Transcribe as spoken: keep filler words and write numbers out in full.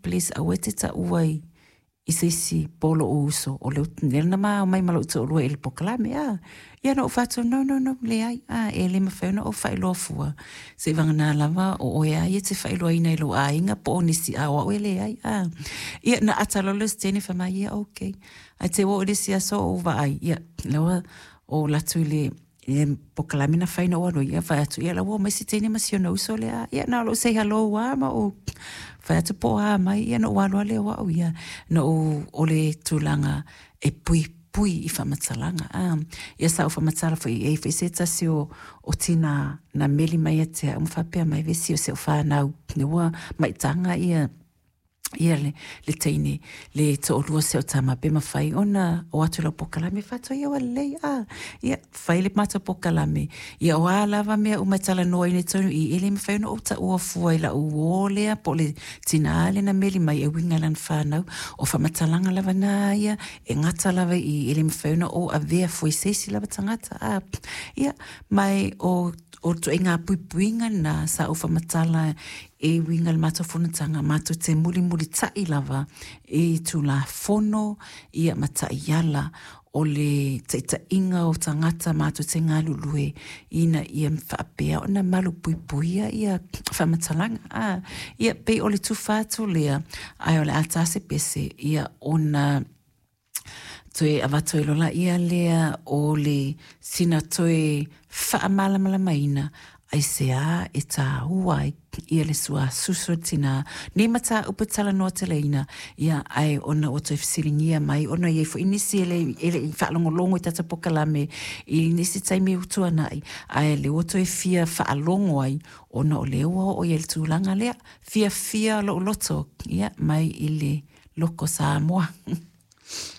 please aua e te taua i i se isi po o lo'u uso o le lea na ma omai ma lo'u to'alua i le polokalame a. Ia na ou fai atu, "No, no, no, leai a, e le mafai ona ou faailoa fua seivagana lava o oe a ia e te faailoaina i lou aiga po o nisi a o a'u e leai a." Ia na ata loa le Stanley fai mai, "Ia, okay." Ae te ua oo i le isi aso ou vaai ia lea ua ou alu atu i le i le polokalame na fai na ou alu ai, ia fai atu ia la ua omai si teine ma si ona uso lea. Ia na o lou say hello lava ma ou fai atu po o a mai, ia na ou alu lava lea o a'u ia na ou o le tulaga e puipui i faamatalaga a. Ia sa ou faamatala foi e i ai foi se tasi o o tinā na meli mai ia te a'u ma faapea mai, "Vesi, o si a'u fanau lea ua maitaga ia ia le, le teine le to'alua o si a'u tama, pe mafai ona o atu i lau polokalame." Fai atu, "Ia ua lelei a." Ia fai le matou polokalame. Ia o a lava mea uma e talanoaina i totonu i i, e le mafai ona ou taua fua i la'u uō lea po o le tinā lea na meli mai e uiga i lana fanau. O faamatalaga lava na ia e gata lava i i, e le mafai ona ou avea fua i se isi lava tagata a. Ia ma o o ituaiga puipuiga na sa ou faamatala e uiga i le matou fonotaga matou te mulimulita'i lava i Tulafono ia ma ta'iala o le taita'iga o tagata matou te galulue ina ia faapea ona malu puipuia ia faamatalaga a. Ia pei o le tufa atu lea, ae o le a ta se pese ia ona toe avatu ai loa laia lea o le sina toe faamalamalamaina aisea e tāua ai ia le suasusu o le tinā nei mataupu e talanoa teleina. Ia ae ona ua toe fesiligia mai ona e i ai foi nisi e le e le i faalogologo i tatou polokalame i nisi taimi ua tuana'i, ae lea ua toe fia faalogo ai ona o lea ua oo i ai le tulaga lea fiafia lo'u loto ia mai i le loko Samoa.